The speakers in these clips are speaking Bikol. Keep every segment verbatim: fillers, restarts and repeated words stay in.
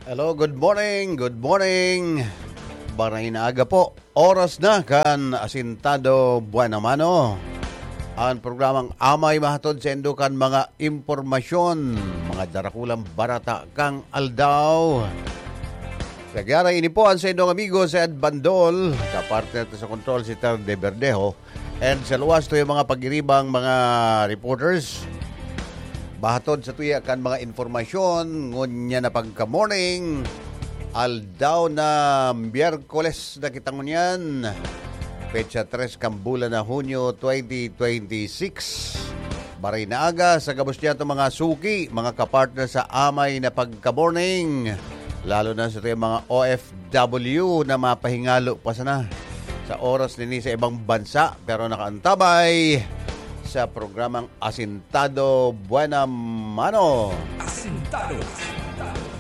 Hello, good morning, good morning. Baray na aga po. Oras na kan Asintado Buena Mano. Ang programang Amay mahatod sa indo kan mga impormasyon, mga darakulang barata kang aldaw. Sa giyara ini po ang sa indong amigo si Ed Bandol, kapartner ta sa kontrol si Ter de Verdejo. And sa luwas to yung mga pagiribang mga reporters, bahatod sa tuya kan mga informasyon, ngunya na pagka-morning, aldaw na Miyerkules na kita ngunyan, petsa tres kan bulan na Hunyo twenty twenty-six. Baray na aga sa gabos niya itong mga suki, mga kapartner sa amay na pagka-morning, lalo na sa itong mga O F W na mapahingalo pa sana sa oras nini sa ibang bansa, pero nakaantabay sa programang Asintado Buena Mano. Asintado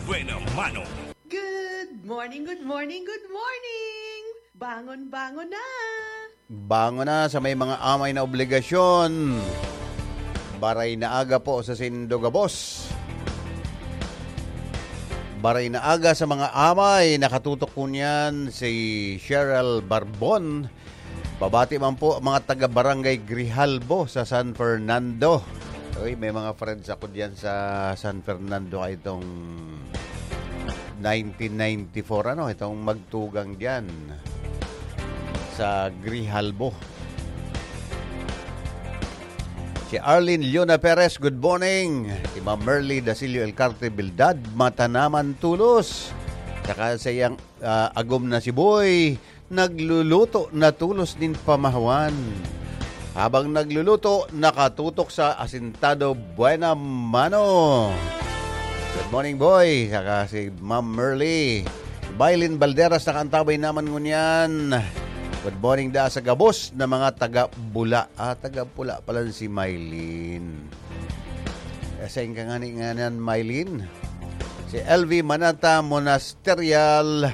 Buena Mano. Good morning, good morning, good morning! Bangon, bangon na! Bangon na sa may mga amay na obligasyon. Baray na aga po sa sindo gabos. Baray na aga sa mga amay. Nakatutok po niyan si Cheryl Barbon. Pabati man po mga taga Barangay Grijalbo sa San Fernando. Uy, may mga friends ako diyan sa San Fernando ay itong nineteen ninety-four, ano, itong magtugang diyan sa Grijalbo. Si Arlene Leona Perez, good morning. Si Ma'am Merly Dasilio Elcarte Bildad, matanaman tulos. Saka sa iyang ah, agom na si Boy, nagluluto na tulos nin pamahawan. Habang nagluluto, nakatutok sa Asintado Buena Mano. Good morning, Boy. Saka si Ma'am Merly. Mylene Balderas nakaantabay naman ngunyan. Good morning da sa gabos na mga taga Bula. Ah, taga Bula pala si Mylene. Eh, sain ka ngani ngunyan, Mylene? Si L V Manata Monasterio,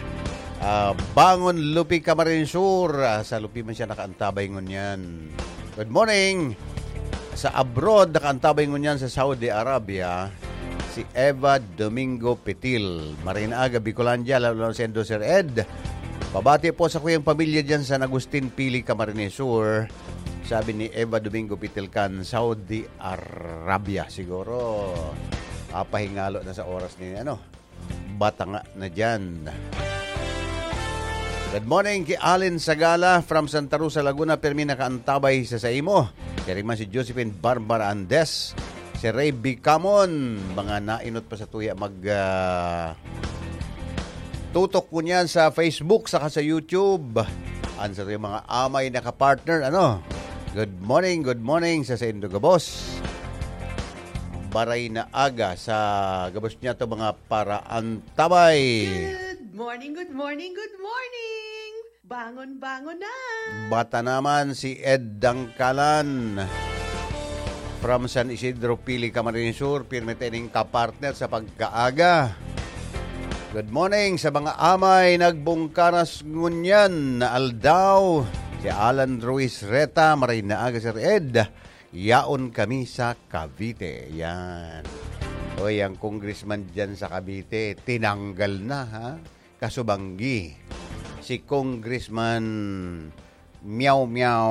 ah, Bangon Lupi, Camarines Sur. Ah, sa Lupi man siya nakaantabay ngunyan. Good morning. Sa abroad, nakaantabay ngunyan sa Saudi Arabia, si Eva Domingo Pitil. Maray na aga, Bicolandia, lalo na sa Indo, Sir Ed. Pabati po sa kuyang pamilya dyan sa San Agustin, Pili, Camarines Sur. Sabi ni Eva Domingo Pitil kan Saudi Arabia. Siguro, apahingalo na sa oras ni, ano, batanga na dyan. Good morning ki Allen Sagala from Santa Rosa, Laguna. Permi nakaantabay sa saimo. Siring man si Josephine Barbara Andes, si Ray Bicamon, mga nainot pa sa tuya mag, ah, tutok ko niyan sa Facebook saka sa YouTube. An sa mga amay na kapartner, ano? Good morning, good morning sa saindo gabos. Baray na aga sa gabos niya to mga paraantabay. Good morning, good morning, good morning! Bangon, bangon na! Bata naman si Ed Dangkalan from San Isidro, Pili, Camarines Sur. Pirmi tayong kapartner sa pagkaaga. Good morning sa mga amay nagbungkaras ngunyan na aldaw. Si Alan Ruiz Reta, maray na aga, Sir Ed. Yaon kami sa Cavite. Yan. Oy, ang congressman dyan sa Cavite, tinanggal na, ha? Kasubanggi. Si Congressman Meow Meow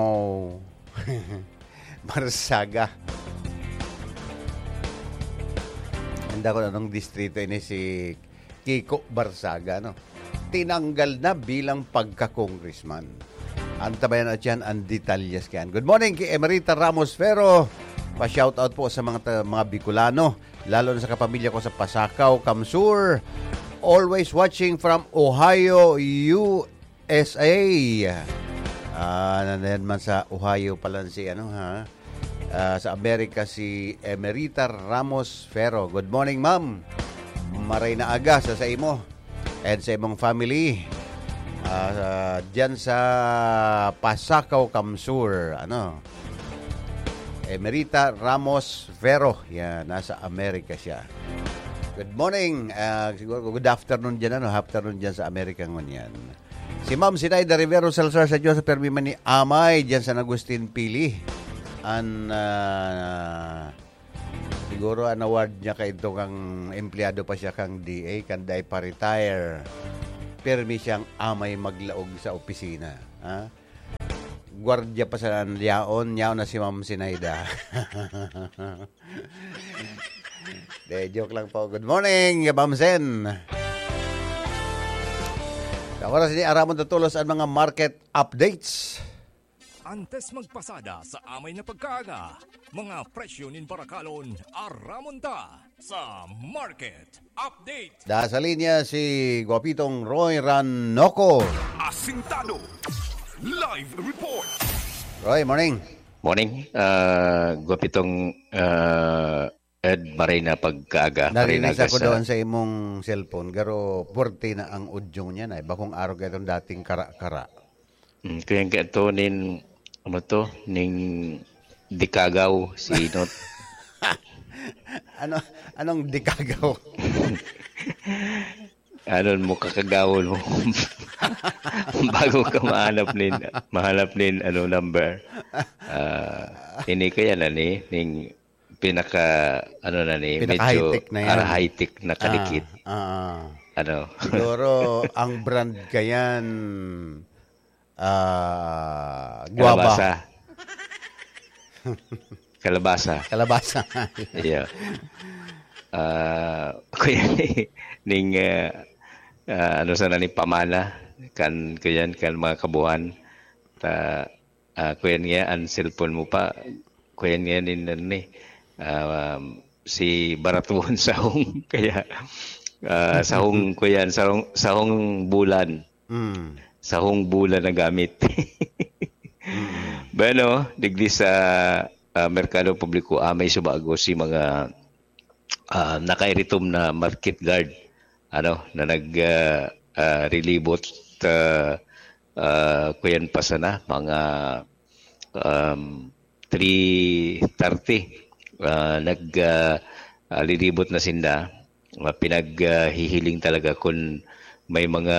Barsaga. Handa ko na nung distrito ini si Kiko Barsaga, no? Tinanggal na bilang pagka-congressman. Antabayan at yan ang detalyes kayan. Good morning kay Emerita Ramos Ferro. Pa-shoutout po sa mga ta-, mga Bicolano, lalo na sa kapamilya ko sa Pasacao, Kamsur. Always watching from Ohio, U S A. Ah, nandiyan man sa Ohio pala si ano, ha? Ah, sa Amerika si Emerita Ramos Ferro. Good morning, ma'am. Maray na aga sa, sa imo and sa imong family. Ah, diyan sa Pasacao, Kamsur, ano? Emerita Ramos Ferro. Yan, nasa Amerika siya. Good morning. Ah, siguro good afternoon diyan, ano? Afternoon diyan sa Amerika ngunyan. Si Ma'am Sinaida Rivero Salazar, sa Diyos, permi man ni Amay, diyan sa San Agustin, Pili. An, ah, si Siguro an award niya kaidto kan empleyado pa siya kan D A, kan dai pa retire. Pirmi siyang amay maglaog sa opisina, ha? Gwardiya pa sana an yaon, yaon na si Ma'am Sinaida. De, joke lang po. Good morning, Ma'am Sen. Sa oras ini, aramon ta tolos an mga market updates. Antes magpasada sa amay na pagkaaga, mga presyo nin barakalon, aramon ta sa market update. Da sa linya si Guapitong Roy Ranoco. Asintado. Live report. Roy, morning. Morning, ah, Guapitong, ah, Ed, maray na pagkaaga, maray na Narinig ako agasa. Doon sa imong cellphone, garo puwerte na ang audio niya na. Bakong araw ka itong dating kara-kara. Mm, kaya nga ito, nin, ano to, ning dikagaw, si Not. Ano, anong dikagaw? Ano mo, kakagawon mo. Bago ka mahanap nin, mahanap nin, ano, number. Ah, ini kaya na ni, ning pinaka, ano na ni, medyo Pinaka-high-tech na yan. ara-high-tech na kadikit. Ah, ah. Ano? Siguro, ang brand kayan, ah, guava. Kalabasa. Kalabasa. Kalabasa. Yeah. Ah, kuya, ning, ah, ah, ano sana ni pamana, kan, kuyan, kan mga kabuhan. Ta, ah, kuyan nga, ang cellphone mo pa, kuyan nga, nin, ano ni, ah, si baratuhon sahong, kaya, ah, sahong, kuyan, sahong, sahong bulan. Mm. Sahong bulan na gamit. Bueno, digdi sa, ah, merkado publiko, ah, may subago si mga, ah, nakairitom na market guard, ano, na nag, ah, ah, rilibot, ah, ah, kuyan pa sana, mga, um, three thirty, ah, nag, ah, ah, lilibot na sinda. Ah, pinaghihiling talaga kung may mga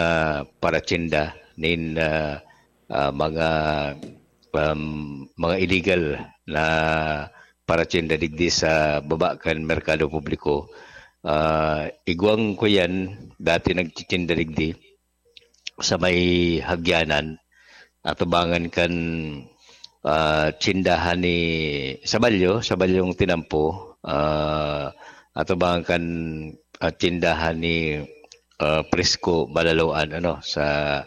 paratsinda nin, ah, ah, mga, um, mga illegal na paratsinda digdi sa baba kan merkado publiko. Ah, igwang ko yan, dati nagtitsinda digdi sa may Hagyanan, atubangan kan, ah, tsindahan ni Sabalyo, Sabalyong Tinampo, ah, atubangan kan, ah, tsindahan ni, ah, Prisco Balaloan, ano, sa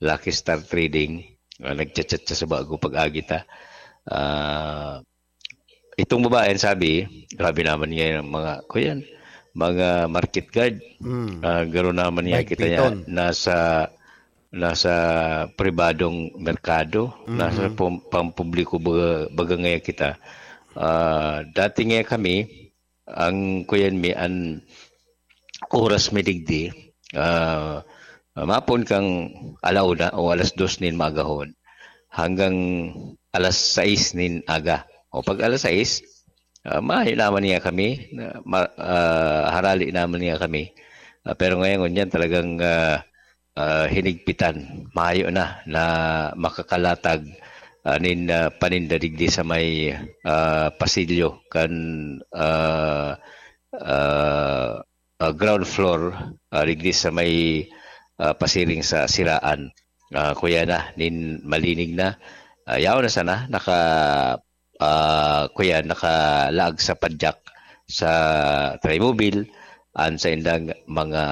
Lucky Star Trading. Ah, nagchat-chat siya sa bago pag-agi ta. Ah, itong babae, ang sabi, grabe naman ngayon ang mga, kuyan, mga market guard. Mm. Ah, garo naman niya kita niya Mahigpiton. nasa nasa pribadong merkado, nasa pam- pampubliko baga, baga ngayon kita. Ah, dati nga kami, ang kuyan mi, ang oras mi digdi, ah, mapon kang alauna o alas dos nin maagahon hanggang alas sais nin aga. O pag alas sais, ah, mayo naman niya kami, na, ma, ah, harali naman niya kami. Ah, pero ngayon, yan talagang, ah, ah, hinigpitan. Mayo na, na makakalatag, ah, nin, ah, paninda digdi sa may, ah, pasilyo kan, ah, ah, ah, ground floor, ah, digdi sa may, ah, pasiring sa siraan. Ah, kuya na, nin malinig na. Ah, yaon na sana, naka, ah, kuya, nakalaag sa padyak sa Trimobile, an sa indang mga,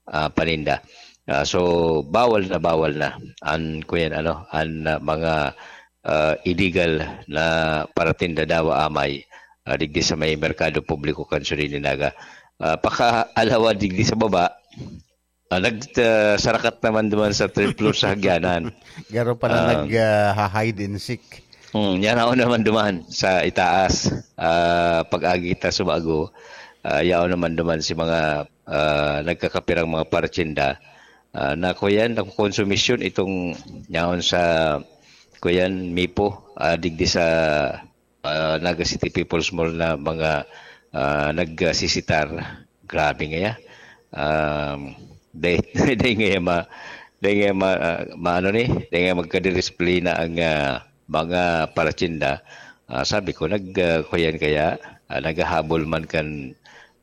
ah, paninda. Ah, so, bawal na bawal na an, kuya, ano, an, ah, mga, ah, illegal na paratinda dawa amay, ah, digdi sa may merkado publiko kan Surignaga. Ah, pakaalawa digdi sa baba, ah, nag, ah, sarakat naman duman sa third floor sa Hagyanan. Garo pala Ah. nag, ah, ha-hide and seek. Hmm, yan ako naman duman sa itaas. Ah, pag-agi ta sa bago, ah, yaon naman duman si mga, ah, nagkakapirang mga paratsinda. Ah, na kuyan, nakukonsumisyon itong yaon sa kuyan, Mipo, ah, digdi sa, ah, Naga City People's Mall na mga, ah, nagsisitar. Grabe nga ya. Um, day, day nga ya ma, day nga ya ma, ah, maano ni, day nga ya magkadisiplina ang, ah, mga paratsinda. Ah, sabi ko, nag, ah, kuyan kaya, ah, naghahabol man kan,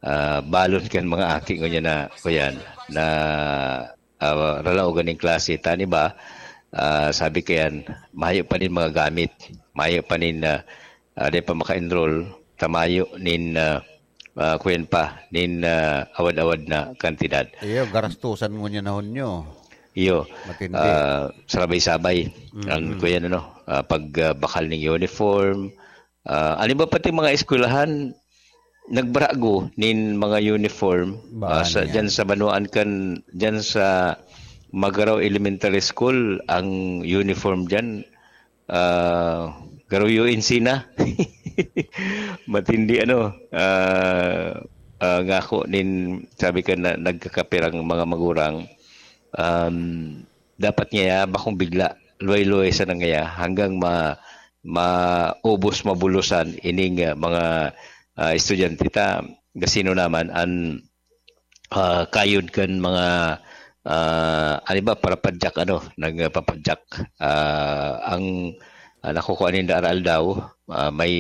ah, balon kan mga aki ngunyan na, kuyan, na, ah, ralaogan ning klase. Tani ba, ah, sabi kayan, mayo pa nin mga gamit, mayo pa nin, ah, ah, di pa maka-enroll, tamayo nin, ah, ah, kuyan pa, nin, ah, awad-awad na kantidad. Iyo, garastusan ngunyan na hunyo. Iyo, Matindi. ah, sarabay-sabay. Mm. Ang kuyan, ano, ah, pag, ah, bakal ning uniform, ah, ano ba pati mga eskwelahan, nagbarago nin mga uniform, Ba, ah, sa, ano yan? dyan sa Banwaan kan, dyan sa Magarao Elementary School, ang uniform dyan, ah, garo U N C na. Matindi, ano, ah, ah, ngako nin, sabi ka na, nagkakapirang mga magurang, um, dapat ngaya bakong bigla, luway-luway sana ngaya hanggang ma-, maubos, mabulusan ining, ah, mga, ah, estudyante ta. Gasino naman an, ah, kayod kan mga, ah, ano ba, parapadyak, ano, nagpapadyak. Ah, ang, ah, nakukuha ninda aral daw, ah, may,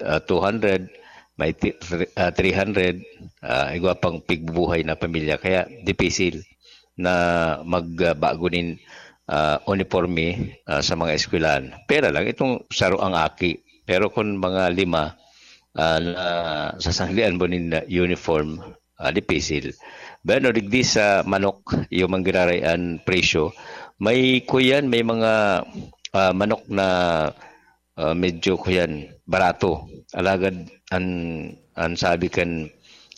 ah, two hundred, may ti-, three, ah, three hundred, ah, igwa pang pigbubuhay na pamilya. Kaya dipisil na magbago nin, ah, uniporme, ah, sa mga eskwelahan. Pera lang, itong saro ang aki. Pero kung mga lima, ah, na sasanggian mo nin uniform, ah, dipisil. Bueno, digdi sa manok, yung manggiraray an presyo. May kuyan, may mga, ah, manok na, ah, medyo kuyan, barato. Alagad an, an sabi kan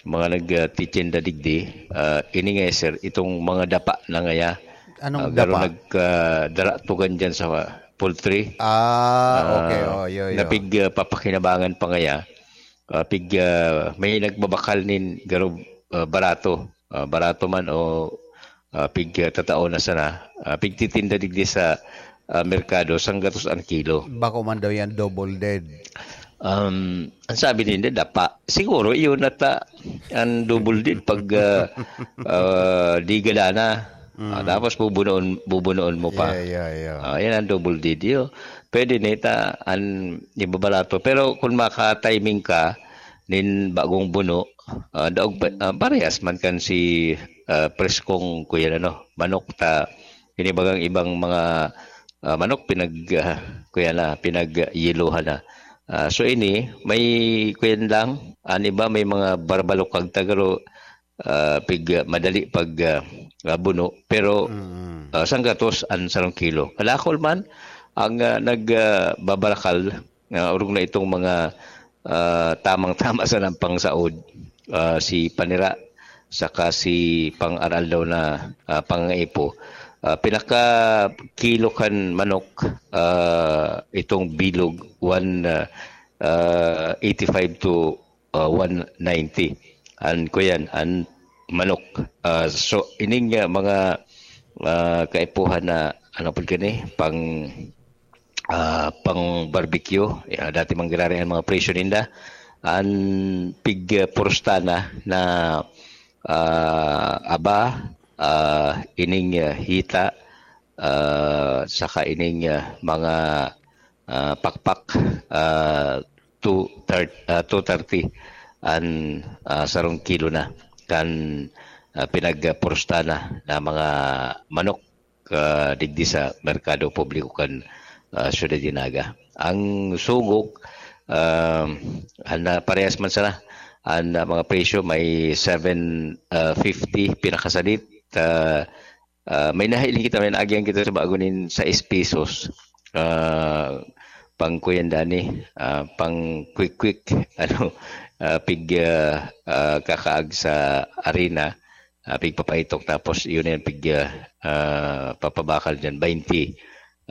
mga nagtitinda digdi, ah, ini nga, sir, itong mga dapa na ngaya, Anong ah, garo dapa? nagkadaratugan dyan sa poultry. Ah, Ah, okay. Oh, yo, yo. napig, ah, papakinabangan pa ngaya. Ah, pig, ah, may nagbabakal nin garo, ah, barato. Ah, barato man o, ah, pig, ah, tatao na sana. Ah, pigtitinda digdi sa, ah, merkado, sanggatos ang kilo. Bako man daw yan, double dead. Um, ang sabi ninda, dapa. Siguro, yun ata ang double dead pag, ah, ah, di gala na. Ah, Mm. tapos bubunuon, bubunuon mo pa. Yeah, yeah, yeah. Ah, yan ang double dead, yun. Pwede na ita, ang ibabarato. Pero kung maka-timing ka, nin bagong buno, ah, daog pa, ah, parehas man kan si, ah, preskong kuyan, ano, manok ta, inibagang ibang mga, ah, manok pinag, ah, kuyan na, pinagyelohan na. Ah, so ini, may kuyan lang, an iba may mga barbalukag ta garo, ah, pig, madali pag, ah, ah, buno, pero, Mm. ah, sanggatos an sarong kilo. Kalakol man, ang, ah, nag, ah, babarakal, ah, orog na itong mga, ah, tamang-tama sa pangsaod, ah, si panira, saka si pang-aral daw na, ah, pangaipo. Ah, pinaka kilo kan manok, ah, itong bilog, one, ah, ah, eighty-five to, ah, one ninety. An kuyan, an manok. Ah, so, ining, ah, mga, ah, kaipuhan na, ano po gani, pang, ah, pang barbecue, ah, dati manggiraray an mga presyo ninda. An pig, ah, porostana na, ah, aba, ah, ining, ah, hita, ah, saka ining, ah, mga, ah, pakpak, ah, two thirty, ah, two thirty an, ah, sarong kilo na kan, ah, pinagporostana na mga manok, ah, digdi sa merkado publiko kan, ah, Ciudad de Naga. Ang sugog, ah, an, ah, parehas man sana, an, ah, mga presyo may seven, ah, fifty pinakasadit, ah, ah, may nahiling kita, may naagihan kita sa bago nin sais pesos. Ah, pang kuyan dani, ah, pang quick-quick, ano, ah, pig, ah, ah, kakaag sa arena, ah, pigpapaitok, tapos yun yan, pig, ah, ah, papabakal dyan, twenty,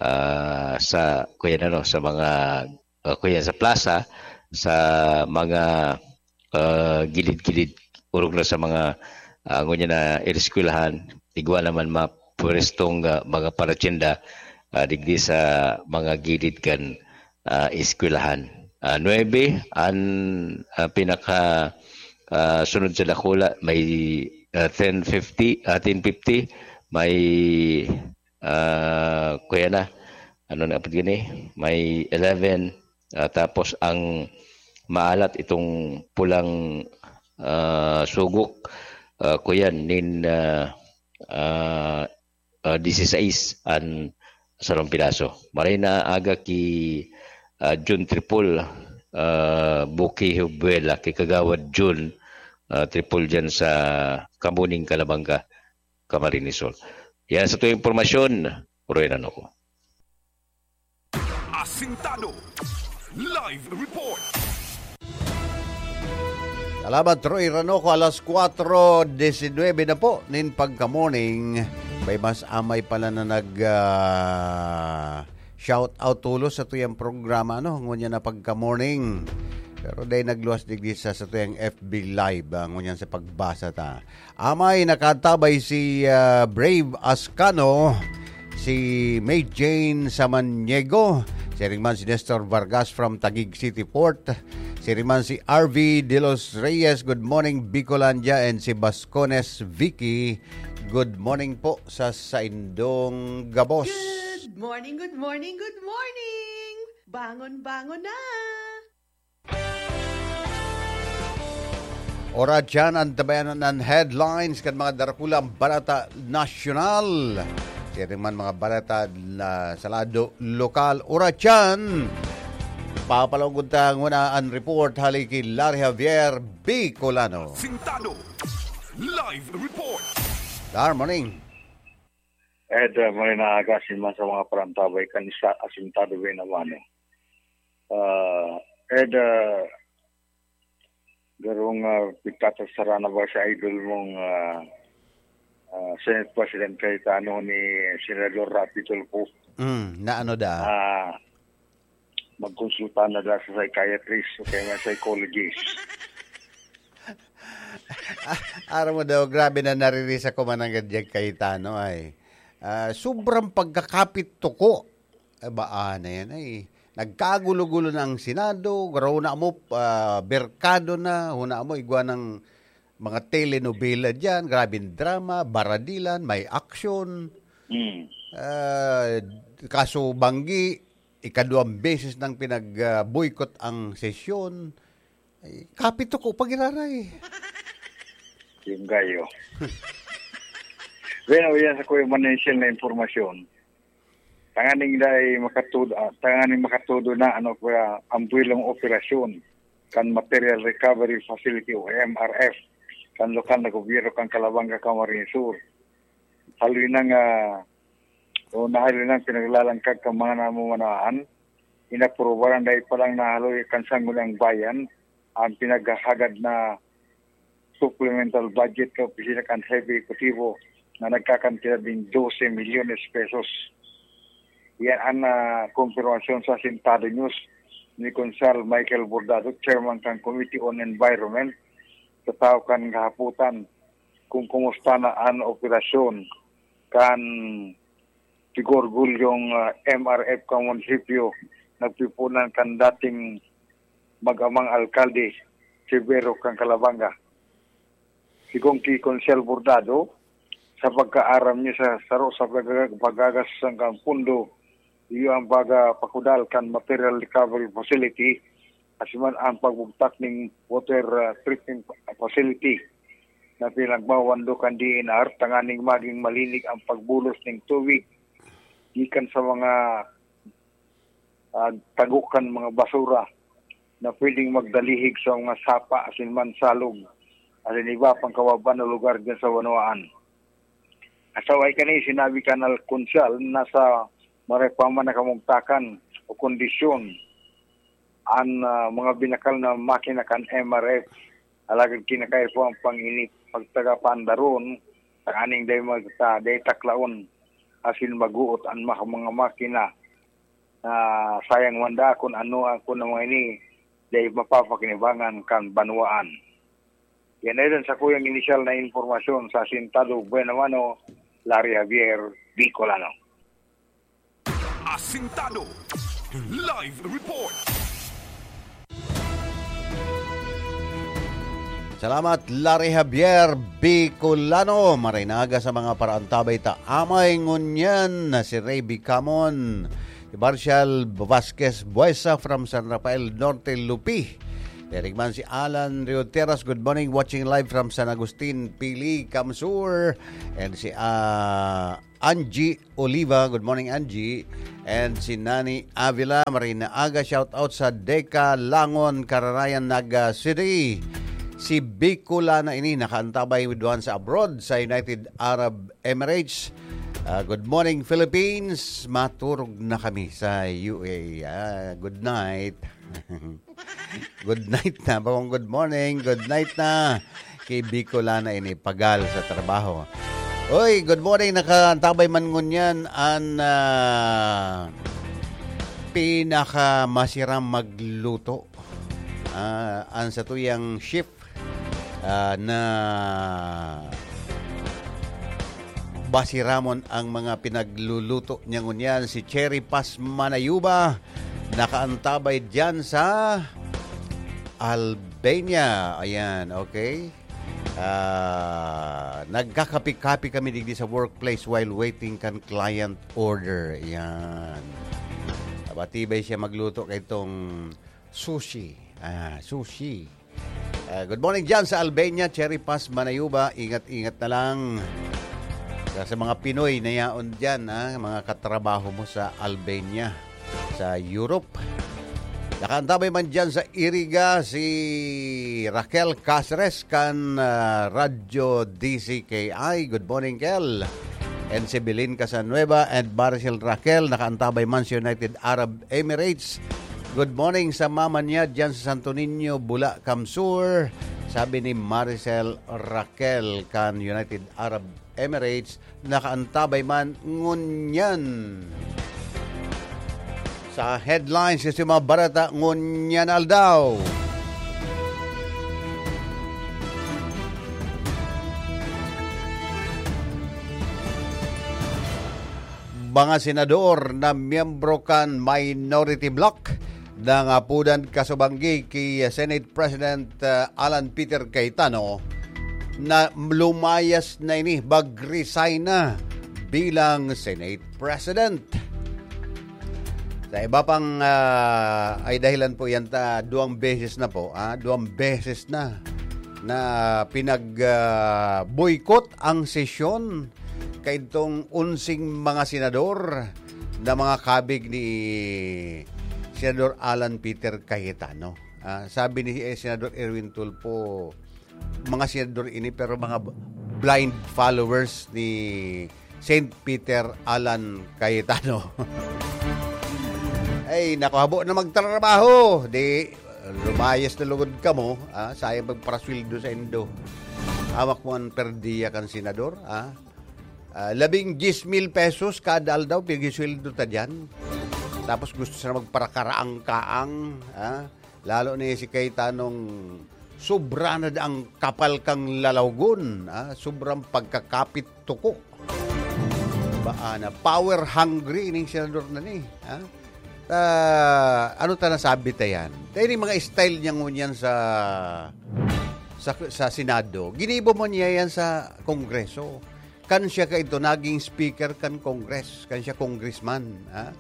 ah, sa, kuyan, ano, sa mga, ah, kuyan sa plaza, sa mga, ah, gilid-gilid, orog na sa mga, ah, ngunyan na eskwelahan, igwa naman mapwerestong, ah, mga paratyenda, ah, digdi sa mga gilid kan, ah, eskwelahan. Ah, nuebe, an, ah, pinaka, ah, sunod sa dakula, may, ah, ten fifty, ah, ten fifty, may, ah, kuya na, ano na apod gini? May eleven, ah, tapos ang, maalat itong pulang, ah, sugok, ah, kuyan nin, ah, ah, ah, disisais an sarong piraso. Maray na aga ki, ah, Jun Tripol, ah, Buki Hubuela, ki Kagawad Jun, ah, Tripol diyan sa Kamuning, Calabanga, Camarines Sur. Yan sa tuyang impormasyon, Roy Ranoco. Asintado. Live report. Salamat, Roy Ranoco. Alas kwatro disinwebe na po nin pagka-morning. May mas amay pala na nag, ah, shout out tulos sa tuyang programa, no? Ngunyan na pagka-morning. Pero dahil nagluwas digdi sa, sa tuyang F B Live, ah, ngunyan sa pagbasa ta. Amay, nakatabay si, ah, Brave Ascano, si May Jane Samaniego, siring man si Nestor Vargas from Taguig City Port, siring man si R V De Los Reyes, good morning, Bicolandia, and si Bascones Vicky, good morning po sa saindong gabos. Good morning, good morning, good morning! Bangon, bangon na! Ora dyan ang tabayanan ng headlines kan mga darakulang balata nasyonal. Siring man mga balata na sa lado lokal. Ora dyan, papalawag ta nguna ang report hali ki Larry Javier Bicolano. Sintado. Live report. Good morning. Ed, uh, may naaga si man sa mga parantabay kan isa asintado ba naman eh. Uh, Ed, uh, garong uh, pitatasara na ba sa idol mong uh, uh, Senate President Cayetano ni Senador Raffy Tulfo? Mm, na ano da? Ah, magkonsulta na da sa psychiatrist o kaya nga psychologist. Ah, aram mo daw, grabe na naririsa ko man ang gadyang Cayetano ay. Ah, sobrang pagkakapit toko. Eh, baa na yan ay. Nagkagulo-gulo na ang Senado, huna mo, ah, berkado na, huna mo, igwa ng mga telenovela dyan, grabing drama, baradilan, may aksyon. Hmm. Ah, kaso banggi, ikaduwang beses nang pinag-boycott ang sesyon. Ay, kapit ko pag iraray. Yung gayo. Bueno, yan sa kuya Manensyel na impormasyon. Tanganing dai makatudo, ah, tanganing makatudo na ano kuya, ang buwelong operasyon kan Material Recovery Facility o M R F kan lokal na gobyerno kan Calabanga, Camarines Sur. Haloy na nga o nahaloy na pinaglalangkag kan mga namumanaan, inaprubaran dahil palang nahaloy kan Sangguniang Bayan ang pinaghahagad na supplemental budget ka opisina kan Hepe Ehekutibo na nagkakantidad nin dose milyones pesos. Yan ang ah, kumpirmasyon sa Sintado News ni Konsal Michael Bordado, Chairman kan Committee on Environment, sa tawo kan kahaputan kung kumusta na an operasyon kan tigorgol yung ah, M R F kan munisipyo nagpipunan kan dating mag-amang alkalde, si Vero kan Calabanga. Sigon ki Konsel Bordado, sa pagkaaram niya sa saro sa pagag- pagagastusan kan pundo, iyo ang pagpakudal kan material recovery facility, asiman ang pagbugtak ning water ah, treatment facility na pinagmawando kan D N R tanganing maging malinig ang pagbulos ning tubig gikan sa mga ah, tago kan mga basura na pwedeng magdalihig sa mga sapa asin man salog asin iba pang kawaban na lugar dyan sa banwaan. Asaway kani sinabi kan Alconsal na sa maray pa man na kamugtakan o kondisyon an ah, mga binakal na makina kan M R F. Alagad kinakaipo ang pangini pagtagapandaron tanganing dai magta dai taklaon asin maguot an maka- mga makina na sayang man daa kun ano ang kun ang mga ini dai mapapakinabangan kan banwaan. Yan na yun sa kuyang inisyal na impormasyon sa Sintado Buena Mano, Larry Javier, Bicolano. Asintado. Live report. Salamat, Larry Javier Bicolano. Maray na aga sa mga paraantabay ta amay ngunyan na si Ray Bicamon, si Marshall Vasquez Buesa from San Rafael Norte, Lupi. Derek man si Alan Rioteras, good morning, watching live from San Agustin, Pili, Kamsur. And si, ah, Angie Oliva, good morning, Angie. And si Nani Avila, Marina Aga, shout out sa Deca Langon, Kararayan, Naga City. Si Bicolana ini, nakaantabay with one sa abroad, sa United Arab Emirates. Ah, good morning, Philippines. Maturog na kami sa U A E. Ah, good night. Good night na. Bakong good morning, good night na. Kay Bicolana ini, pagal sa trabaho. Oy, good morning. Nakaantabay man ngunyan an, ah, pinakamasiram magluto. Ah, an satuyang chef, ah, na basiramon ang mga pinagluluto niya ngunyan, si Cherry Paz Manayuba, nakaantabay diyan sa Albania. Ayan, okay? Ah, nagkakape-kape kami digdi sa workplace while waiting kan client order. Ayan. Matibay siya magluto kay itong sushi. Ah, sushi. Ah, good morning dyan sa Albania, Cherry Paz, Manayuba. Ingat-ingat na lang. Sa, sa mga Pinoy na yaon dyan, ha, mga katrabaho mo sa Albania, sa Europe. Nakaantabay man dyan sa Iriga si Raquel Caceres kan, ah, Radyo D C K I. Good morning, Kel. And si Belin Casanueva and Maricel Raquel, nakaantabay man sa United Arab Emirates. Good morning sa mama niya dyan sa Santo Niño, Bula, Kamsur. Sabi ni Maricel Raquel kan United Arab Emirates, nakaantabay man ngunyan. Sa headlines, sa mga barata ngunyan aldaw. Mga senador na miyembro kan minority bloc nangapodan kasubanggi ki Senate President, uh, Alan Peter Cayetano na lumayas na ini, mag-resign na bilang Senate President. Sa iba pang, ah, ay dahilan po yan, ta, duwang beses na po, ah, duwang beses na, na pinag, ah, boycott ang sesyon kaidtong onseng mga senador na mga kabig ni Senador Alan Peter Cayetano. Ah, sabi ni, eh, Senador Erwin Tulfo, mga senador ini, pero mga b-, blind followers ni Saint Peter Alan Cayetano. Ay, naku, habo na magtrabaho. Di, lumayas na lugod kamo, ah, sayang magparasweldo sa indo. Hawak mo ang perdiya kan senador, ah. Ah, labing diyes mil pesos kada aldaw, pigisweldo ta dyan. Tapos gusto sana magparakaraang-kaang, ah. Lalo ni si Cayetano, sobra na ang kapal kang lalawgon, ah, sobrang pagkakapit tuko. Ba, ah, na power hungry ning senador na ni, ah. Ah, ano ta nasabi ta yan? Dahil yung mga style niya ngunyan sa, sa, sa Senado, ginibo mo niya yan sa Kongreso. Kan siya kaito naging speaker kan Congress, kan siya congressman, ha?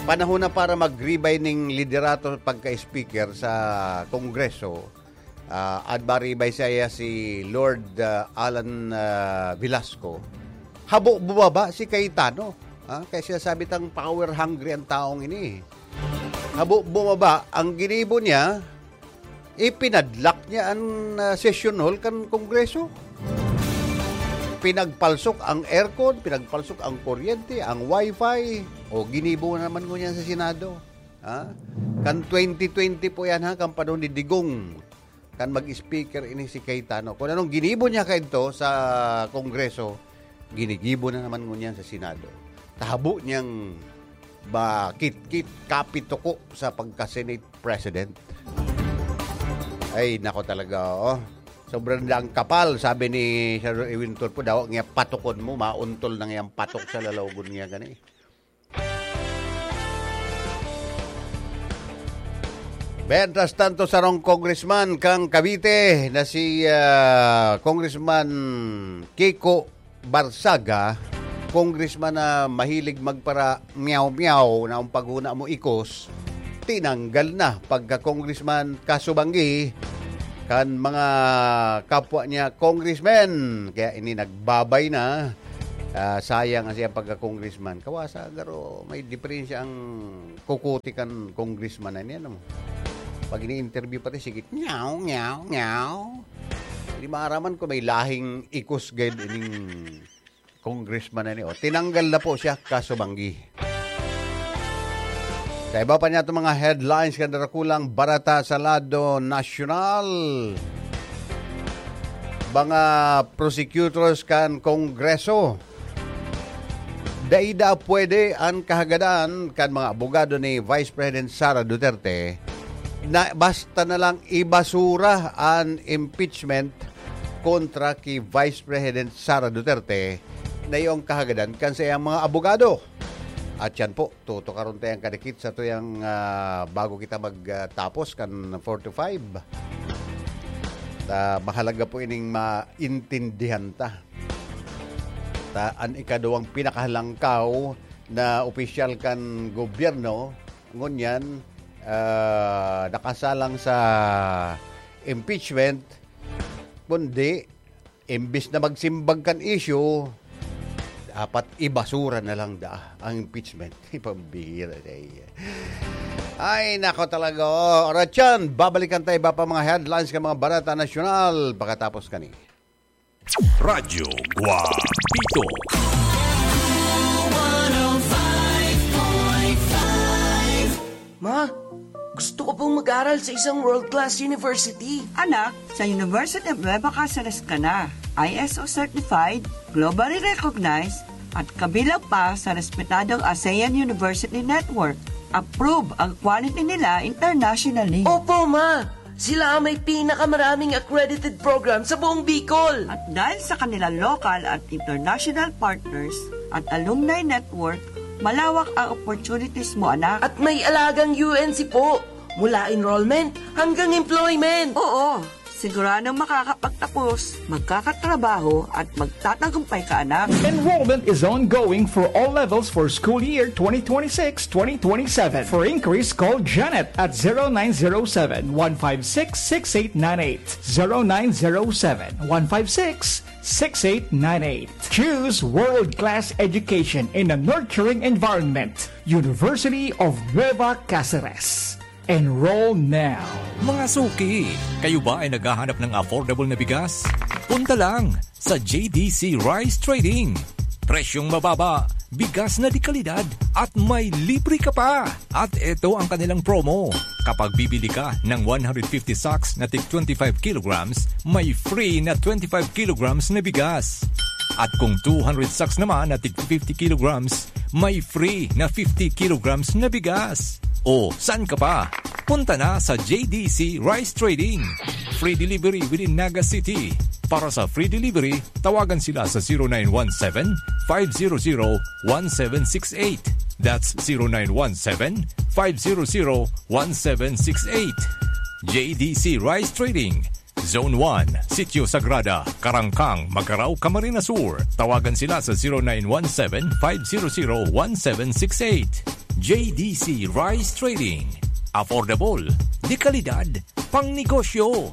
Panahon na para mag-ribay ning liderato pagka-speaker sa Kongreso. Ah, admaribay saya si Lord, ah, Alan, ah, Velasco. Habo bumaba si Cayetano, ha? Kaya sinasabi tang power hungry ang taong ini. Habo bumaba, ang ginibo niya, ipinadlak niya ang, ah, session hall kan Kongreso. Pinagpalsok ang aircon, pinagpalsok ang kuryente, ang wifi. O, ginibo na naman ngunyan sa Senado. Ha? Kan twenty twenty po yan, ha? Kan panahon ni Digong. Kan mag-speaker ini si Cayetano. Kung anong ginibo niya kaito sa Kongreso, ginigibo na naman ngunyan sa Senado. Tahabo niyang ba, kitkit, kapituko sa pagka-Senate President. Ay, nako talaga, oh. Sobrang daang kapal, sabi ni Senador Erwin Tulfo, daw nga patukon mo, mauntol na ngayang patok sa lalawgon niya gani. Mientras tanto, sarong congressman kang Cavite na si, ah, Congressman Kiko Barsaga, congressman na mahilig magpara-meow-meow na ang paghuna mo ikos, tinanggal na pagka-congressman kasubanggi kan mga kapwa niya congressmen. Kaya ini nagbabay na. Ah, sayang ang siyang pagka-congressman. Kawasa, garo, may diferensya ang kukuti kan congressman na niya, no? Pag ini-interview pati, sige, "Nyaw, nyaw, nyaw." Di maaraman kung may lahing ikos gayud ining congressman na ni, o, tinanggal na po siya kasubanggi. Sa iba pa niya itong mga headlines kan Darakulang Barata sa lado nasyonal, mga prosecutors kan Kongreso, dai da pwede an kahagadan kan mga abogado ni Vice President Sara Duterte na basta na lang ibasura an impeachment kontra ki Vice President Sara Duterte na iyong kahagadan kan sa iyang mga abogado. At yan po, tutukaron tayong kadikit sa tuyang, ah, bago kita magtapos kan four to five. Ta, mahalaga po ining maintindihan ta. Ta, an ikaduwang pinakahalangkaw na opisyal kan gobyerno, ngunyan, ah, nakasalang sa impeachment, kundi imbis na magsimbag kan issue, dapat ibasura na lang da ang impeachment. Pambihira na iya. Ay, nako talaga. Oh, Ratchan, babalikan tayo iba pa mga headlines kan mga Barata Nasyonal pagkatapos kani. Radyo Guapito. Ma, gusto ko pong mag-aral sa isang world-class university. Anak, sa University of Nueva Caceres ka na. I S O certified, globally recognized, at kabilang pa sa respetadong ASEAN University Network. Approve ang quality nila internationally. Opo, ma! Sila ang may pinakamaraming accredited program sa buong Bicol. At dahil sa kanilang local at international partners at alumni network, malawak ang opportunities mo, anak. At may alagang U N C po, mula enrollment hanggang employment. Oo, siguradong makakapagtapos, magkakatrabaho at magtatagumpay ka, anak. Enrollment is ongoing for all levels for school year twenty twenty-six twenty twenty-seven. For inquiries, call Janet at zero nine zero seven, one five six, six eight nine eight. Zero nine zero seven, one five six, six eight nine eight. Choose world-class education in a nurturing environment. University of Nueva Caceres. Enroll now. Mga suki, kayo ba ay naghahanap ng affordable na bigas? Punta lang sa J D C Rice Trading. Presyong mababa, bigas na de kalidad, at may libre ka pa. At eto ang kanilang promo. Kapag bibili ka ng one hundred fifty sacks na tig twenty-five kilograms, may free na twenty-five kilograms na bigas. At kung two hundred sacks naman na tig fifty kilograms, may free na fifty kilograms na bigas. O, saan ka pa? Punta na sa J D C Rice Trading. Free delivery within Naga City. Para sa free delivery, tawagan sila sa zero nine one seven, five zero zero, one seven six eight. That's zero nine one seven, five zero zero, one seven six eight. J D C Rice Trading, Zone one, Sitio Sagrada, Karangkang, Magarao, Camarines Sur. Tawagan sila sa zero nine one seven, five zero zero, one seven six eight. J D C Rice Trading. Affordable, de kalidad, pangnegosyo.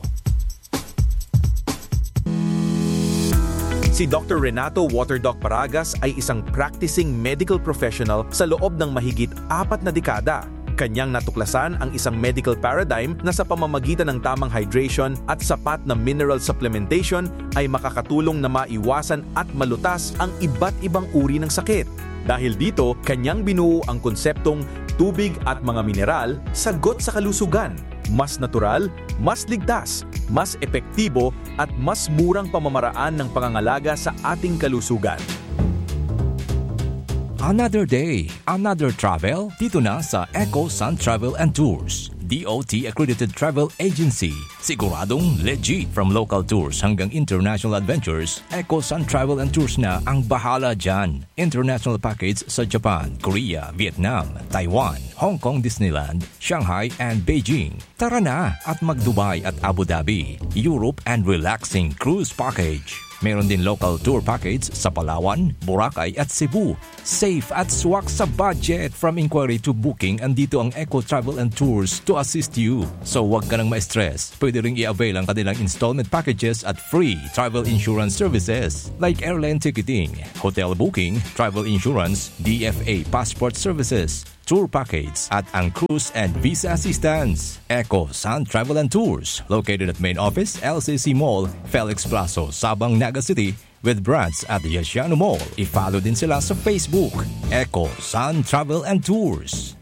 Si Doctor Renato Waterdoc Paragas ay isang practicing medical professional sa loob ng mahigit apat na dekada. Kanyang natuklasan ang isang medical paradigm na sa pamamagitan ng tamang hydration at sapat na mineral supplementation ay makakatulong na maiwasan at malutas ang iba't ibang uri ng sakit. Dahil dito, kanyang binuo ang konseptong tubig at mga mineral, sagot sa kalusugan. Mas natural, mas ligtas, mas epektibo, at mas murang pamamaraan ng pangangalaga sa ating kalusugan. Another day, another travel, dito na sa Eco Sun Travel and Tours, D O T accredited travel agency. Siguradong legit. From local tours hanggang international adventures, Eco Sun Travel and Tours na ang bahala dyan. International package sa Japan, Korea, Vietnam, Taiwan, Hong Kong Disneyland, Shanghai and Beijing. Tara na at mag-Dubai at Abu Dhabi, Europe and relaxing cruise package. Meron din local tour package sa Palawan, Boracay at Cebu. Safe at swak sa budget. From inquiry to booking, andito ang Eco Travel and Tours to assist you. So, wag ka nang ma-stress. Pwede ring i-avail ang kanilang installment packages at free travel insurance services like airline ticketing, hotel booking, travel insurance, D F A passport services, tour package, at ang cruise and visa assistance. Eco Sun Travel and Tours, located at main office, L C C Mall, Felix Plazo, Sabang, Naga City, with branch at Yasiano Mall. I-follow din sila sa Facebook, Eco Sun Travel and Tours.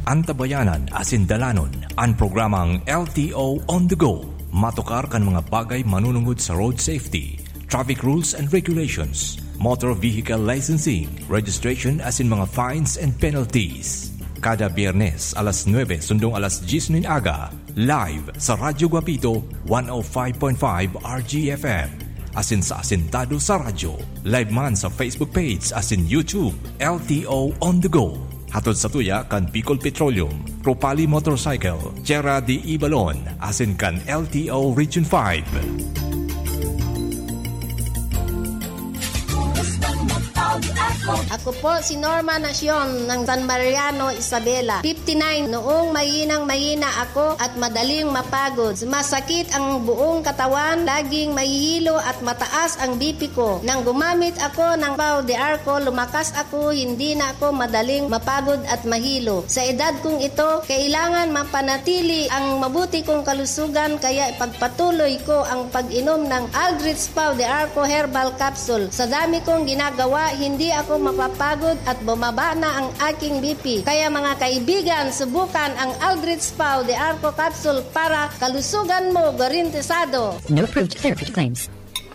Antabayanan asin dalanon an programang L T O on the Go. Matukar kan mga bagay manunungod sa road safety, traffic rules and regulations, motor vehicle licensing, registration asin mga fines and penalties. Kada Biyernes, alas nuebe sundong alas dyes nin aga, live sa Radyo Guapito, one oh five point five R G F M. Asin sa Asintado sa Radyo, live man sa Facebook page asin YouTube, L T O on the Go. Hatod sa tuya kan Bicol Petroleum, Propali Motorcycle, Tierra de Ibalon, asin kan L T O Region five. Ako po si Norma Nacion ng San Mariano, Isabela, fifty-nine. Noong mahinang-mahina ako at madaling mapagod, masakit ang buong katawan, laging mahihilo at mataas ang B P ko. Nang gumamit ako ng Pau de Arco, lumakas ako, hindi na ako madaling mapagod at mahilo. Sa edad kong ito, kailangan mapanatili ang mabuti kong kalusugan, kaya ipagpatuloy ko ang pag-inom ng Aldrich Pau de Arco Herbal Capsule. Sa dami kong ginagawa, hindi ako mapapagod at bumaba na ang aking B P. Kaya, mga kaibigan, subukan ang Aldrich Pau de Arco Capsule para kalusugan mo garantisado. No approved therapeutic claims.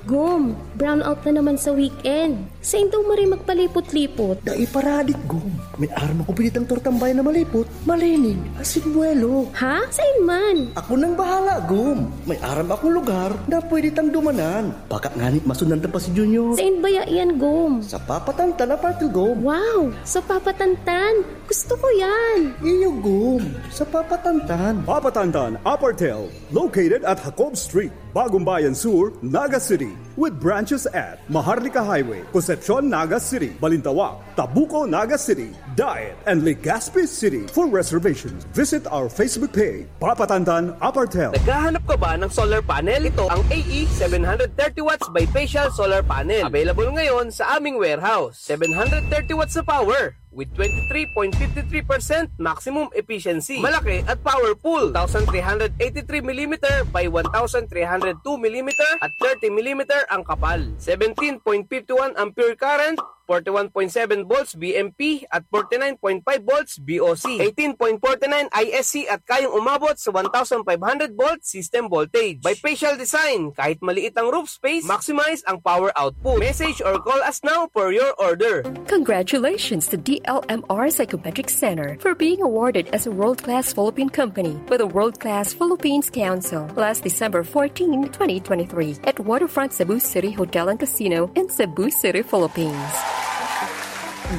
Gum, brownout na naman sa weekend. Sain daw maray magpalipot-lipot? Dai paradik, Gum. May aram akong pinitang tortang bayan na malipot, malinig, asin buwelo. Ha? Sain man? Ako nang bahala, Gum. May aram akong lugar na pwede tang dumanan. Baka ngani masundan ta pa si Junior. Sain baya yan, Gum? Sa Papatantan Apartel, Gum. Wow! Sa Papatantan? Gusto ko yan! Iyo, Gum. Sa Papatantan. Papatantan Apartel, located at Jacob Street, Bagumbayan Sur, Naga City, with branches at Maharlika Highway, Concepcion, Naga City, Balintawak, Tabuco, Naga City, Daet, and Legazpi City. For reservations, visit our Facebook page, Papatantan Apartel. Naghahanap ka ba ng solar panel? Ito ang A E seven hundred thirty watts bifacial solar panel. Available ngayon sa aming warehouse. Seven hundred thirty watts na power with twenty-three point five three percent maximum efficiency. Malaki at powerful. Two thousand three hundred eighty-three millimeter by one thousand three hundred two millimeter at thirty millimeter ang kapal. Seventeen point five one ampere current, forty-one point seven volts V M P at forty-nine point five volts V O C, eighteen point forty-nine I S C at kayang umabot sa one thousand five hundred volt system voltage. Bifacial design, kahit maliit ang roof space, maximize ang power output. Message or call us now for your order. Congratulations to D L M R Psychometric Center for being awarded as a world-class Philippine company by the World Class Philippines Council last December fourteen, twenty twenty-three, at Waterfront Cebu City Hotel and Casino in Cebu City, Philippines.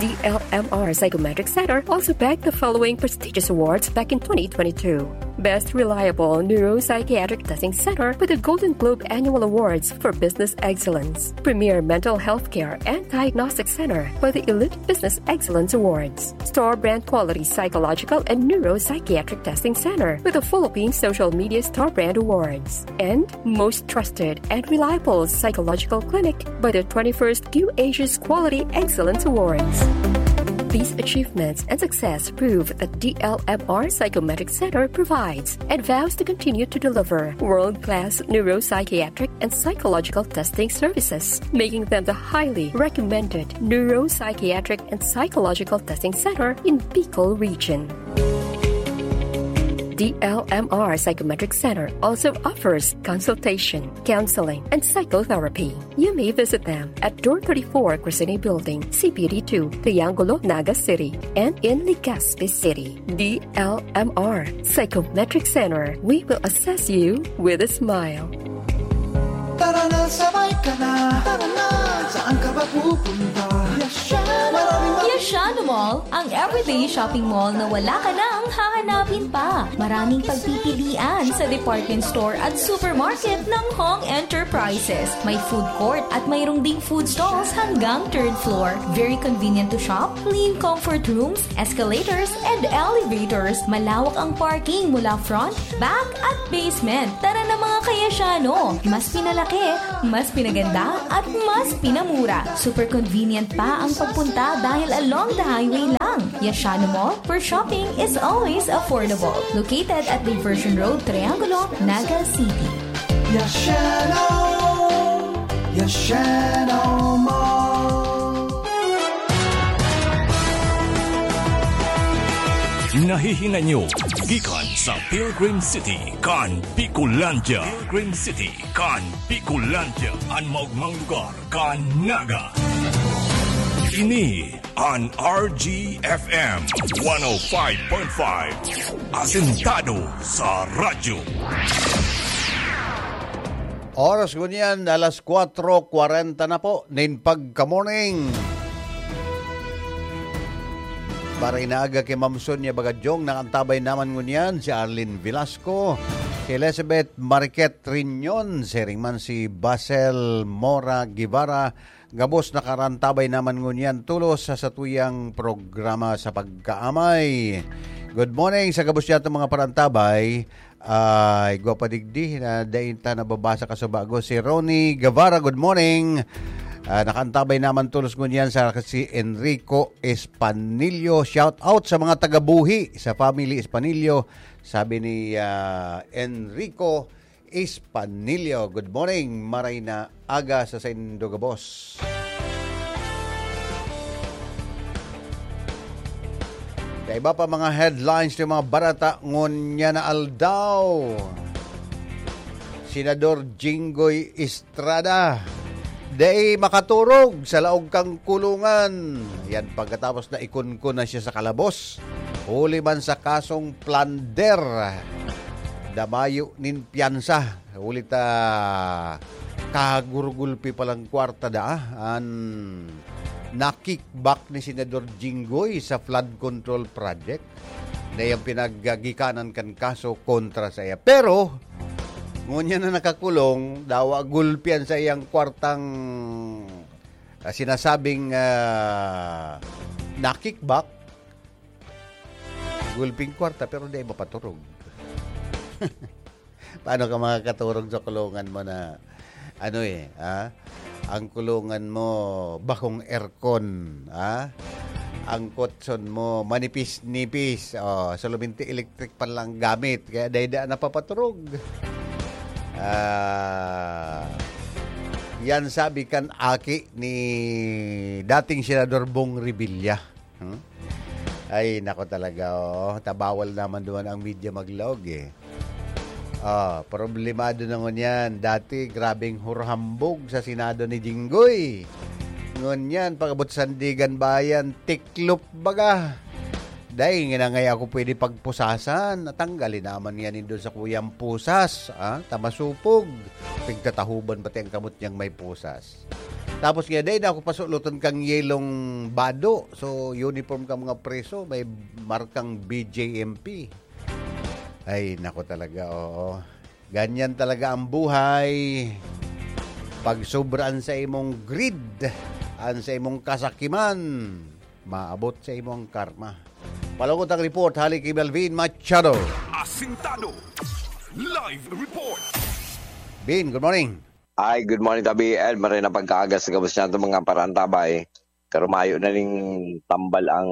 D L M R Psychometric Center also bagged the following prestigious awards back in twenty twenty-two: Best Reliable Neuropsychiatric Testing Center with the Golden Globe Annual Awards for Business Excellence, Premier Mental Health Care and Diagnostic Center by the Elite Business Excellence Awards, Store Brand Quality Psychological and Neuropsychiatric Testing Center with the Philippine Social Media Store Brand Awards, and Most Trusted and Reliable Psychological Clinic by the twenty-first Q Asia's Quality Excellence Awards. These achievements and success prove that D L M R Psychometric Center provides and vows to continue to deliver world-class neuropsychiatric and psychological testing services, making them the highly recommended neuropsychiatric and psychological testing center in Bicol Region. D L M R Psychometric Center also offers consultation, counseling, and psychotherapy. You may visit them at Door thirty-four, Crescene Building, C P D two, Triangulo, Naga City, and in Legazpi City. D L M R Psychometric Center. We will assess you with a smile. Sabay ka na, tara na. Saan ka ba pupunta? Yashano Mall, ang everyday shopping mall na wala ka nang hahanapin pa. Maraming pagpipilian sa department store at supermarket ng Hong Enterprises. May food court at mayroong ding food stalls hanggang third floor. Very convenient to shop, clean comfort rooms, escalators, and elevators. Malawak ang parking mula front, back, at basement. Tara na, mga kayasyano! Mas pinalaki, mas pinaganda, at mas pinamura. Super convenient pa ang pagpunta dahil along the highway lang. Yashano Mall, where shopping is always affordable. Located at Diversion Road, Triangulo, Naga City. Yashano! Yashano Mall! Nahihinanyo gikan sa Pilgrim City kan Bicolandia. Pilgrim City kan Bicolandia, an maogmang lugar kan Naga. Ini an R G F M one oh five point five, asentado sa radyo. Oras ngunyan, alas kwatro kwarenta na po nin pagka-morning. Barinaga ki Ma'am Sonia Bagadyong, nakantabay naman ngunyan si Arlene Velasco, si Elizabeth Mariquet Riñon, siring man si Basel Mora Guevara, gabos nakarantabay naman ngunyan tulos sa satuyang programa sa pagkaamay. Good morning sa gabos niyatong mga parantabay. Ay, igwa pa digdi na dai ta nababasa kasubago. Si Ronnie Guevara, good morning. Ah, nakaantabay naman tulos ngunyan sa si Enrico Espanillo. Shout out sa mga taga-Buhi, sa family Espanillo, sabi ni, ah, Enrico Espanillo. Good morning, maray na aga sa saindo gabos. Sa iba pa mga headlines ng mga barata ngunyan na aldaw, Senador Jinggoy Estrada, dai makaturog sa laog kang kulungan. Yan pagkatapos na ikunkun na siya sa kalabos, huli man sa kasong plunder, damayo nin piyansa. Huli ta kagurgulpi palang kwarta daa an na-kickback ni Senador Jinggoy sa flood control project na iyang pinaggigikanan kan kaso kontra sa iya. Pero, ngunyan na nakakulong, dawa gulpi an saiyang kwartang, ah, sinasabing, ah, na-kickback. Gulping kwarta, pero di mapaturog. Paano ka makakaturog sa kulungan mo na, ano eh, ha? Ang kulungan mo, bakong aircon, ha? Ang kotson mo, manipis-nipis. Oh, suluminti electric pa lang gamit. Kaya dai-dai napapaturog. Ah, yan sabi kan aki ni dating Senador Bong Revilla. Hmm? Ay, nako talaga, oo. Tabawal naman duman ang media maglaog eh. Ah, problemado na ngunyan. Dati, grabing hurhambog sa Senado ni Jinggoy. Ngunyan, pag-abot Sandigan Bayan, tiklop baga. Dai, nginangay ako pwede pagpusasan. Tanggalin naman yan doon sa kuyang pusas. Ah, tamasupog. Pigtatahuban pati ang kamot niyang may pusas. Tapos nga, dai na ako pasuloton kang yelong bado. So, uniform ka mga preso, may markang B J M P. Ay, nako talaga, oo. Ganyan talaga ang buhay. Pag sobra an sa imong greed, an sa imong kasakiman, maabot sa imong karma. Palungot ang report, hali ki Melvin Machado. Asintado. Live report. Bin, good morning. Ay, good morning, Tabi Ed. Maray na pagkaaga sa gabos niya itong mga parantabay. Pero mayo na ning tambal ang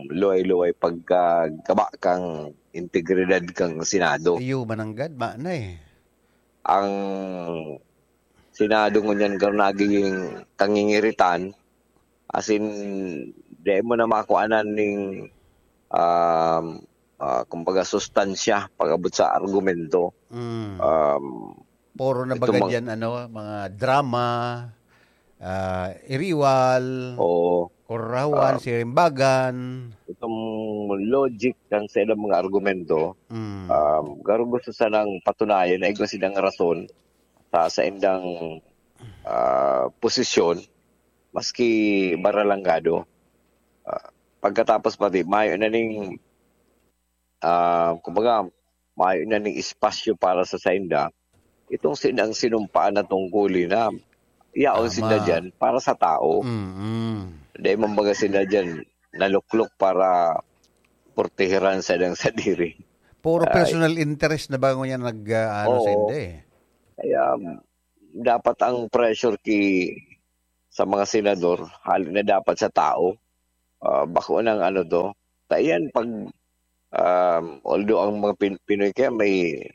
luway-luway pagkagaba kang integridad kang Senado. Iyo, mananggad, ma na eh. Ang Senado ngunyan karo nagiging kangingiritan, as in, di mo na makuanan ning, um, ah, kumbaga, sustansya pag-abot sa argumento. Mm. Um, Puro na itong baga mga dyan, ano, mga drama, ah, iriwal, Oo. kurahawan, Ah. sirimbagan. Itong logic ng sa ilang mga argumento, Mm. um, garo gusto sanang patunayan na igwa silang rason sa, sa indang ah, posisyon, maski baralanggado. Ah, pagkatapos pati, mayo na ning, ah, kumbaga, mayo na ning espasyo para sa sainda. Itong sin-, ang sinumpaan na tungkulin na yaon Tama. sinda dyan para sa tao. Mm. Dahil mambaga sinda dyan, naluklok para portehiran sa dang sadiri. Puro Ay. personal interest na ba ngunyan nag, ah, ano Oo. sa hindi eh? Kaya, dapat ang pressure ki, sa mga senador, hali na dapat sa tao. Ah, bako nang ano to. Ta iyan pag, um, although ang mga Pin-, Pinoy kaya may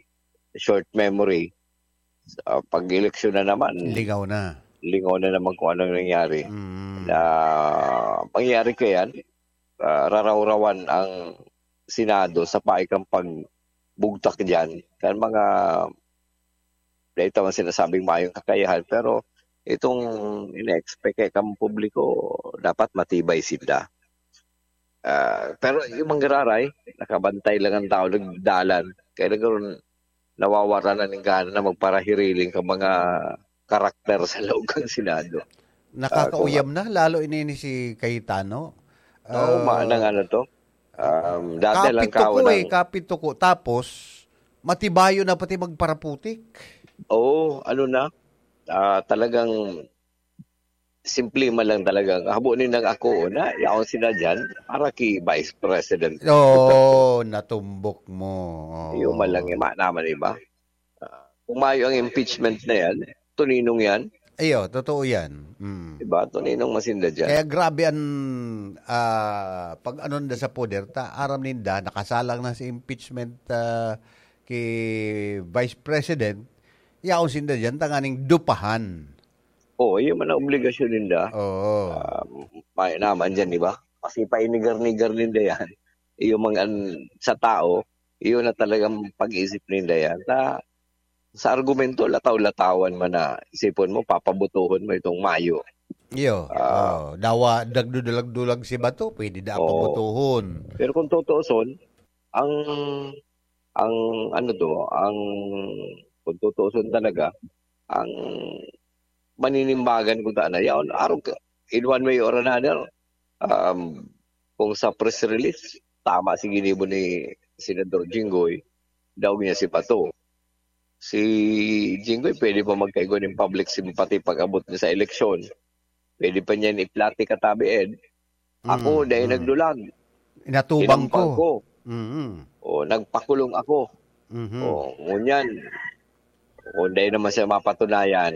short memory, ah, pag eleksyon na naman, Lingaw na. lingaw na naman kung anong nangyari. Mm. Na mangyari kaya, ah, rarawrawan ang Senado sa paikang pagbugtak diyan kan mga, dahil tama sinasabing mayong kakayahan, pero itong ina-expect kay kang publiko, dapat matibay sinda. Ah, pero yung manggararay, nakabantay lang ang tao, nagdalan. Kaya nagkaroon, nawawara na ning gana na magparahiriling ka mga karakter sa loob ng Senado. Nakakauyam Ah, kung na, lalo ini ni si Cayetano. Oo, Ah, ma-, nang ano to? Um, dati lang kapit ko kawan eh, ang kapit ko. Tapos, matibayo na pati magparaputik. Oo, ano na? Ah, talagang simple man lang talaga. Habo ni nang ako na yaon sila dyan para ki Vice President. Oo, natumbok mo. Oo. Iyo man lang, ima naman iba. Ah, kung mayo ang impeachment na yan, tuninong yan. Iyo, totoo yan. Mm. Diba? Tuninong masinda dyan. Kaya grabe ang, ah, pag ano nda sa poder, ta, aram ninda, nakasalang na sa impeachment, ah, ki Vice President, yaon sinda dyan, tanganing dupahan. Oo, yun man ang obligasyon ninda. Oo. Ah, may naman dyan, di ba? Kasi painigar-nigar ninda yan. Yung mga an-, sa tao, yun na talagang pag-iisip ninda yan. Ta, sa argumento, lataw-latawan man na isipon mo, papabotohon mo itong mayo. Iyo. Ah. Oo. Dawa, nagdudulag-dulag si Bato, pwede na Oo. pabotohon. Pero kung tutuuson, ang, ang ano to, ang, kung tutuuson talaga, ang maninimbagan ko ta na yaon, arog ka, in one way or another, um, kung sa press release, tama si ginibo ni Senador Jinggoy, daog niya si Bato. Si Jinggoy pwede pa magkaigwa nin public sympathy pag-abot niya sa eleksyon. Pwede pa niyan iplati katabi, Ed. Ako, Mm, dahil mm. nagdulag. Inatubang Tinampal ko. ko. Mm. O, nagpakulong ako. Mhm. O, ngunyan. O, dahil naman siya mapatunayan.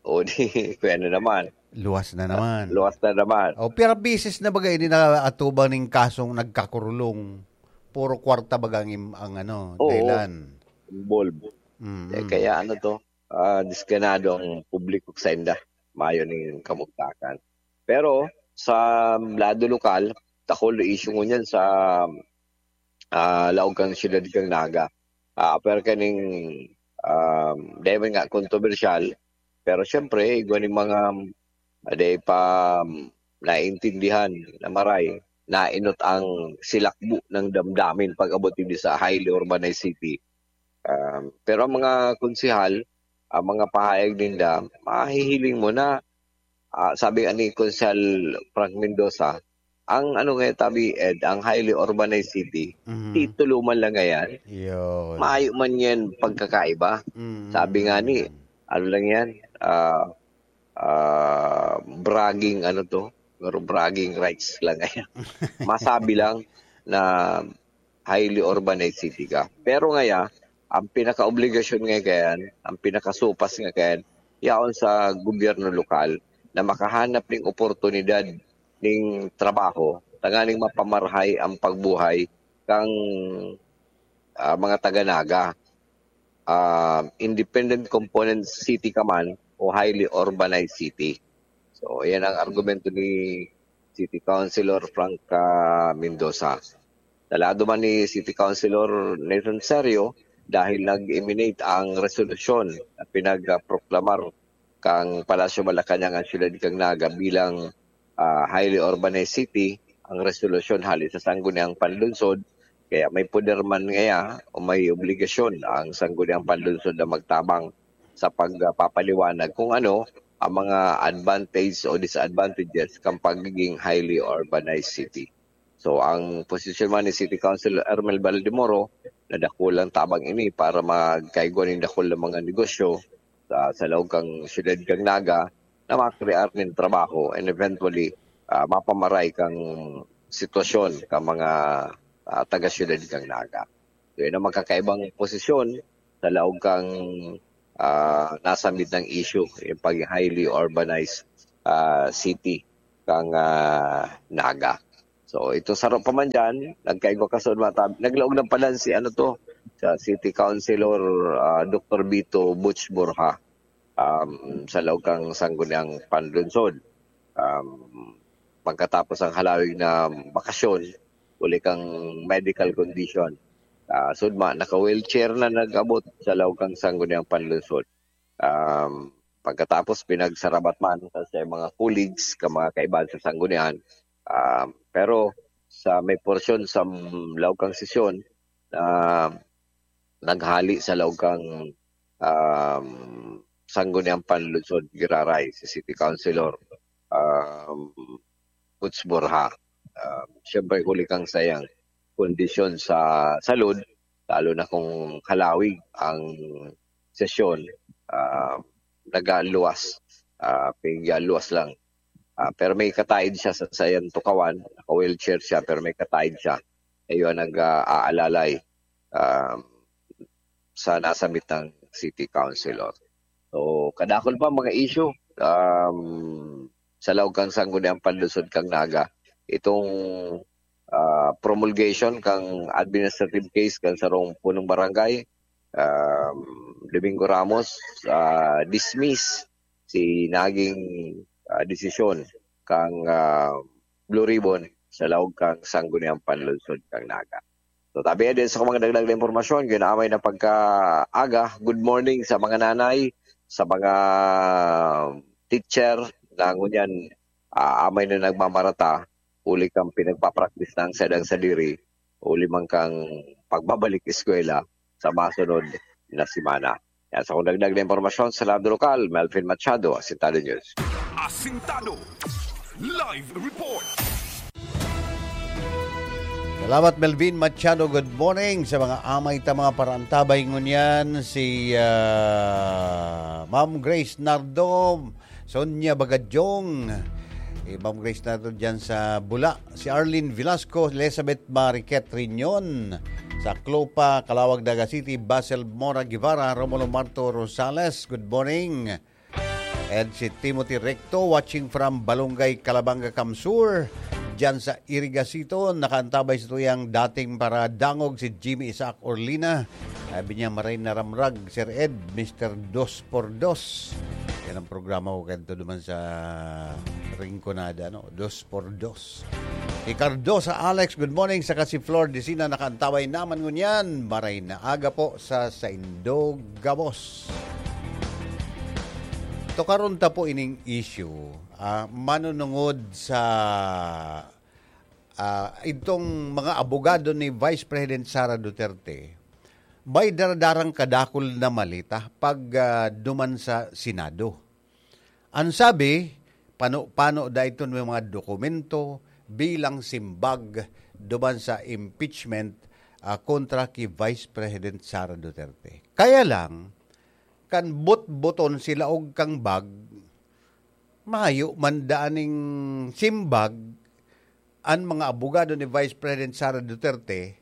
O, di, kaya na naman. Luwas na naman. Luwas na naman. O, pero bisis na baga ini na atubang ning kasong nagkakurulong. Puro kwarta baga ang im-, ang ano, Oo. dahilan. Involved. Mm. Eh, kaya ano to, ah, disganado ang publiko sa inda. Mayo ning kamugtakan. Pero sa lado lokal, dakul na issue ngunyan sa, ah, laog kan siyudad kan Naga. Ah, pero kaning, um, dai man nga kontrobersyal, pero siyempre, igwa ning mga, ah, dai pa, um, naintindihan na maray, nainot ang silakbo ng damdamin pag-abot digdi sa highly urbanized city. Um, pero ang mga konsehal, ang mga pahayag ninda, mahihiling mo na, ah, sabi nga ni Konsehal Frank Mendoza, ang ano nga tabi, Ed, ang highly urbanized city, Mhm. titulo man lang ngayon. Yun. Maayo man yan pagkakaiba. Mm. Sabi nga ni, ano lang yan, ah, ah, bragging, ano to? Pero bragging rights lang ngayon. Masabi lang na highly urbanized city ka. Pero ngaya, ang pinakaobligasyon nga kayan, ang pinakasupas nga kayan, yaon sa gobyerno lokal na makahanap ning oportunidad ning trabaho, tanganing mapamarahay ang pagbuhay kang, ah, mga taga-Naga. Ah, independent component city ka man o highly urbanized city. So, yan ang argumento ni City Councilor Frank, ah, Mendoza. Sa lado man ni City Councilor Nathan Serio, dahil nag-emanate ang resolusyon na pinagproklamar kang Palasyo Malacañang ang siyudad kang Naga bilang, ah, highly urbanized city, ang resolusyon hali sa Sangguniang Panlungsod, kaya may poder man ngaya o may obligasyon ang Sangguniang Panlungsod na magtabang sa pagpapaliwanag kung ano ang mga advantage o disadvantages kan pagiging highly urbanized city. So, ang posisyon man ni City Councilor Ermel Baldemoro, na dakulang tabang ini para magkaigwa nin dakul na mga negosyo sa, sa laog kan siyudad kan Naga, na makrear nin trabaho and eventually, ah, mapamaray kan sitwasyon kan mga, ah, taga-siyudad kan Naga. So, yan ang magkakaibang posisyon sa laog kan, ah, nasambit na issue, yung pag highly urbanized, ah, city kan, ah, Naga. So, ito saro pa man dyan, nagkaigwa ka sa mga tab-, naglaog ng palan si ano to, sa City Councilor, ah, Doktor Vito Butch Borja, um, sa laog kan Sangguniang Panlunsod. Um, pagkatapos ang halawig na bakasyon, uli kang medical condition. Ah, sudma, naka-wheelchair na nag-abot sa laog kan Sangguniang Panlunsod. Um, pagkatapos, pinagsarabat man sa, sa mga colleagues, ka mga kaibahan sa Sanggunian. Um, pero sa may porsyon sa laog kan sesyon, ah, naghali sa laog kan, um, Sangguniang Panlunsod giraray si City Councilor, um, Butch Borja. Um, siyempre, huli kan saiyang kondisyon sa salud, lalo na kung halawig ang sesyon, ah, nagaluwas, ah, pigyaluwas lang. Ah, pero may kataid siya sa saiyang tukawan, naka-wheelchair siya, pero may kataid siya. Iyo ang nag-aalalay, ah, sa nasambit na city councilor. So, kadakul pa mga issue, um, sa laog kan Sangguniang Panlunsod kan Naga. Itong, ah, promulgation kan administrative case kan sarong punong barangay, um, Domingo Ramos, ah, dismiss si naging, ah, desisyon kan, ah, Blue Ribbon sa laog kan Sangguniang Panlunsod kan Naga. So, tabi din sa mga dagdag na impormasyon, ginamay na pagkaaga. Good morning sa mga nanay, sa mga teacher na ngunyan, ah, amay na nagmamarata, uli kang pinagpapraktis ng sadang sadiri, uli man kang pagbabalik eskwela sa masunod na semana. Yan sa kung dagdag na impormasyon sa lado lokal, Melvin Machado, Asintado News. Asintado Live Report. Salamat, Melvin Machado. Good morning sa mga amay ta, mga parantabay ngunyan. Si, ah, Ma'am Grace Nardo, Sonia Bagadyong, eh, Ma'am Grace Nardo dyan sa Bula. Si Arlene Velasco, Elizabeth Mariquet Riñon, sa Clopa, Calauag, Naga City, Basil Mora Guevara, Romulo Marto Rosales. Good morning. And si Timothy Recto, watching from Balongay, Calabanga, Camsur. Diyan sa Irigasiton, nakaantabay sa tuyang dating paradangog si Jimmy Isaac Orlina. Sabi niya, "Maray na ramrag, Sir Ed, Mister Dos por Dos." Yan ang programa ko kanto duman sa Rinconada, no? Dos por Dos. Si Cardosa Alex, good morning. Saka si Flor Decina, nakaantabay naman ngunyan. Maray na aga po sa saindo gabos. Tokaron ta po ining issue, ah, manunungod sa, ah, itong mga abogado ni Vice President Sara Duterte, may daradarang kadakul na maleta pag, ah, duman sa Senado. Ang sabi, pano-pano da iton may mga dokumento bilang simbag duman sa impeachment, ah, kontra ki Vice President Sara Duterte. Kaya lang, kan botboton sila og kang bag, mayo man daaning simbag an mga abogado ni Vice President Sara Duterte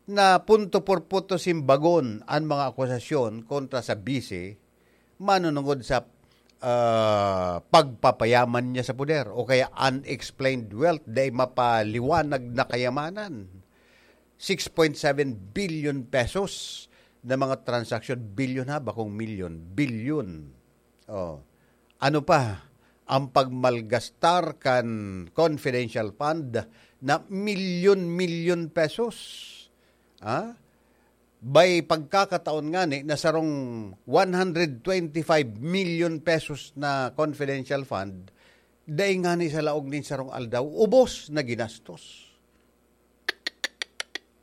na punto por punto simbagon an mga akusasyon kontra sa bise manunungod sa, ah, pagpapayaman niya sa poder o kaya unexplained wealth, dai mapaliwanag na kayamanan. Six point seven billion pesos na mga transaksyon, bilyon ha, bakong milyon, bilyon. Oh. Ano pa? Ang pagmalgastar kan confidential fund na milyon-milyon pesos. Ah? By pagkakataon ngani na sarong one hundred twenty-five million pesos na confidential fund, dai ngani sa laog nin sarong aldaw, ubos na ginastos.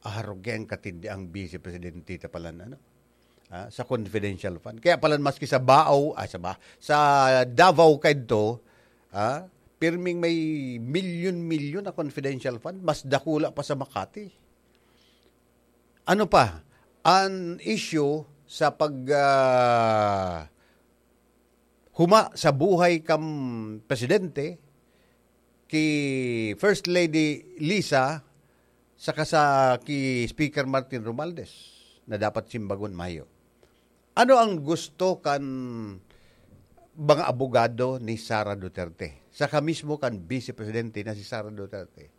Arog yan katindi ang Vice Presidente ta pala na, ano? ah, sa confidential fund. Kaya pala maski sa Bao, ah, sa Ba-, sa Davao kaidto, ah, pirming may milyon-milyon na confidential fund, mas dakula pa sa Makati. Ano pa? An issue sa pag, ah, huma sa buhay kan presidente, ki First Lady Liza, saka sa ki Speaker Martin Romualdez, na dapat simbagon mayo. Ano ang gusto kan mga abogado ni Sara Duterte? Saka mismo kan Vice Presidente na si Sara Duterte.